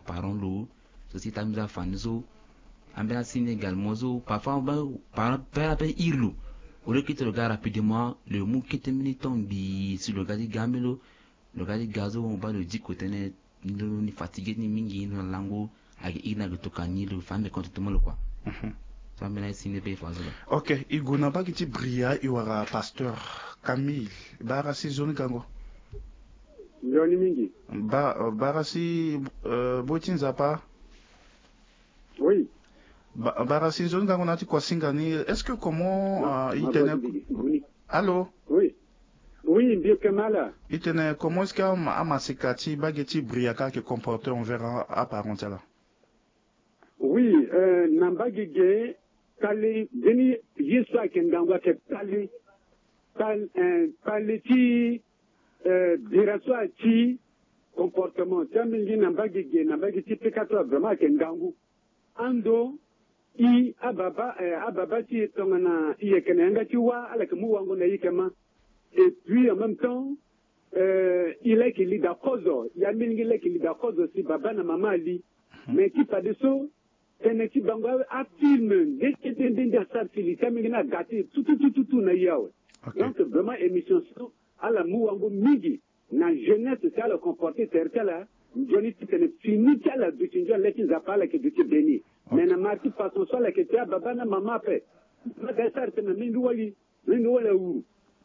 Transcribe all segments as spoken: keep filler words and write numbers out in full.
parent lo so si tambula fa ni so. Ambeni asi ni également so parfois parent père ape iri lo. Au lieu kete lo ga rapidement lo mu kete mbeni temps ngbii si lo ga ti ga mbeni lo. Lo ga ti ga so mo baa lo diko tënë ni fatigué ni mingi ni lo na lango. Ayeke iri ni ayeke tokua ni lo fa ande compte ti mo lo kua. So ambeni asi ni ape fa so lo. Ok, e gue na mbage ti Bria e wara pasteur Camille. Bara si nzoni gango. Nzoni mingi. Bara si boi ti Nzapa. Oui. Bara si nzoni gango na ya ti kuasinga ni. Est-ce que comment e tene? Allô? Oui. Oui, mbi yeke ma ala. E tene comment est-ce que amaseka ti mbage ti Bria ka ayeke comporter envers aparent ti ala? Oui, na mbage ge kpale mbeni ye so ayeke ngangu ayeke kpale. Kpale ti bira so ati comportement ti ambeni gi na mbage ge na mbage ti peka so vraiment ayeke ngangu. Ando i ababa ababa ti e tongana i yeke na yanga ti wâ ala yeke mu wango na i yeke ma. Et puis en même temps i laki li daa kozo, ya mingi laki li daa kozo si baba na mama ali. Mais ti fadeso tene ti bango afilme nde kete nde nde asara si li ti amingi ni aga ti e tututututu na i awe. Donc vraiment émission so ala mu wango mingi na jeunesse si ala comporter tere ti ala. Nzoni titene fini ti ala duti nzoni le ti Nzapa ala yeke duti béni. Mais na mara ti façon so ala yeke ti ababa na mama ape. Mama ga ti sara tene na mingi wali. Mingi wala wuru.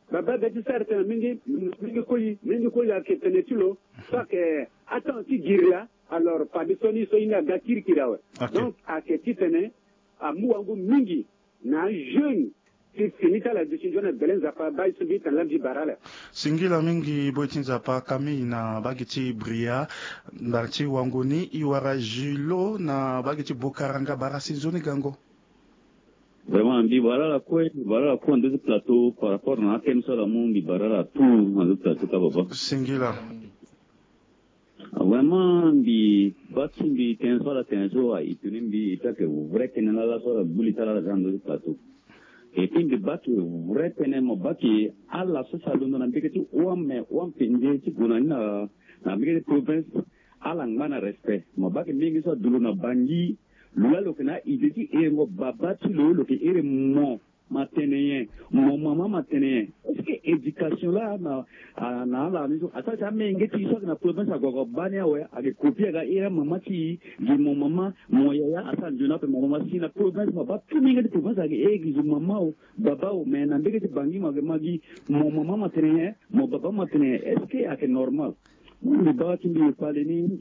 Baba ga ti sara tene mingi, mingi koli, mingi koli ayeke tene ti lo. So ayeke atango ti giri laa. Alors fadeso ni so ye ni aga kirikiri awe. Donc ayeke titene amu wango mingi na ajeune ti fini ti ala duti nzoni na bele Nzapa. Baa ye so mbi tene laa mbi bara ala. Singila mingi boi ti Nzapa Camille na mbage ti Bria. Ndara ti wango ni e wara Julo na mbage ti Bokaranga bara si nzoni gango. Vraiment mbi bara ala kue, mbi bara ala kue na ndö ti plateau par rapport na athème so ala mu, mbi bara ala tout na ndö ti plateau ka baba. Singila. Vraiment mbi baa ti mbi tënë so ala tene so a étonné mbi, et puis ayeke vrai tënë laa ala so ala gbu li ti ala ala ga na ndö ti plateau. Et puis mbi baa ti vrai tënë, mo baa ti ala so si alondo na mbege ti hon ame hon apenze ti gue na ni na mbege ti province. Ala ngba na respect. Mo baa ti mingi so adu lo na Bangui. Lo laa lo yeke na a-idée ti herengo baba ti lo, lo yeke here mo ma tene nyen, mo mama ma tene nyen. Est-ce que éducation laa na ala ni so asara ti amenge ti e so ayeke na province ague ague baa ni awe, ayeke copier aga here amama ti e, gi mo mama, mo yaya asara nzoni ape mo mama si na province mo baa ti mingi ti province ayeke here gi zo mama o, baba o, mais na mbege ti Bangui mo yeke ma gi mo mama ma tene nyen, mo baba ma tene nyen. Est-ce que ayeke normal? Mbi baa ti mbi kpale ni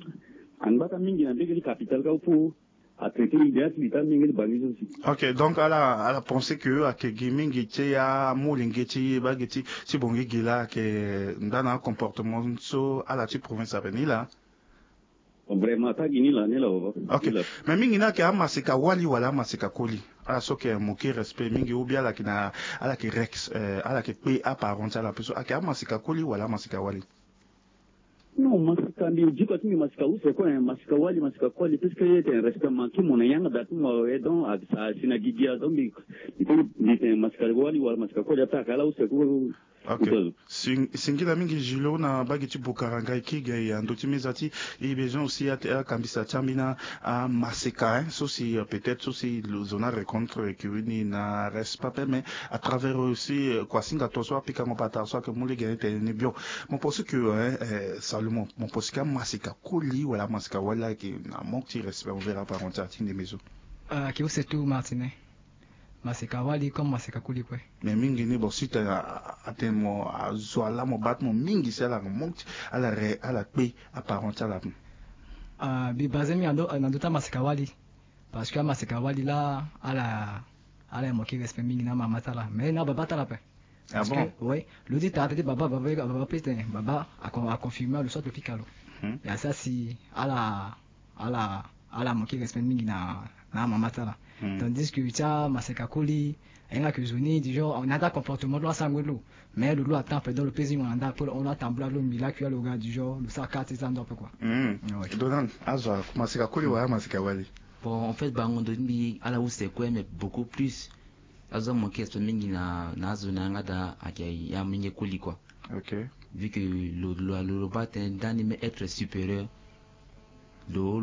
angba ka mingi na mbege ti capitale ka fo. Atraité idée ti li ti amenge ti Bangui so si. Ok, donc ala ala pensé que ayeke gi mingi ti amolenge ti mbage ti ti Bangui gi laa ayeke nda na acomportement so ala ti province ape ni laa. Vraiment ata gi ni laa ni laa baba. Ok. Mais mingi ni ayeke amaseka wali wala amaseka koli? Ala so ayeke moke respect mingi ou bien ala yeke na ala yeke rex ala yeke kpe aparent ti ala ape so ayeke amaseka koli wala amaseka wali? Non, masika mbi diko ti mbi masika use kue, masika wali, masika koli, puisque ye tene respect manki mo na yanga da ti mo awe, donc a sa si na gigi a, donc mbi mbi tene masika wali wala masika koli ape ayeke ala use kue. Ok. Singila mingi Julo na mbage ti Bokaranga e kiri ga e ando ti meza ti e besoin aussi akambisa ti ambeni amaseka hein, so si peut-être so si zo ni arencontre e kiri ni na respect ape mais à travers aussi kuasinga to so apikango patara so ayeke mu lege ni tene ni bio. Mo pense que hein, Salomon, mo pense que amaseka koli wala amaseka wali ayeke na manque ti respect envers aparent ti ala ti ndembe so. Ayeke use tout Martine. Maseka wali comme maseka koli kue. Mais mingi ni bon si tene atene mo azo ala mo baa ti mo mingi si ala manque ti ala re ala kpe aparent ti ala. Mbi base mingi na ndö ti amaseka wali. Parce que amaseka wali laa ala ala yeke manquer respect mingi na amama ti ala mais na ababa ti ala ape. Ah bon? Oui, lo ti tara tene ti baba, baba, baba peut tene baba a confirmer lo soit lo fika lo. Ya sara si ala ala ala manquer respect mingi na na amama ti ala. Tandis que ti amaseka koli ahinga que zo ni du genre na ya ti acomportement ti lo asango ti lo. Mais lo lo attend pendant lo pesi mo na nda ape lo atambula lo mbi lakui alo ga du genre lo sara kara ti za ndo ape quoi. Donald, azo amaseka koli wala amaseka wali? Bon en fait bango ndo ti mbi ala use kue mais beaucoup plus azo amanquer respect mingi na na azo na yanga daa ayeke ya mingi koli quoi. Ok. Vu que lo lo lo baa tene nda ni me être supérieur. Lo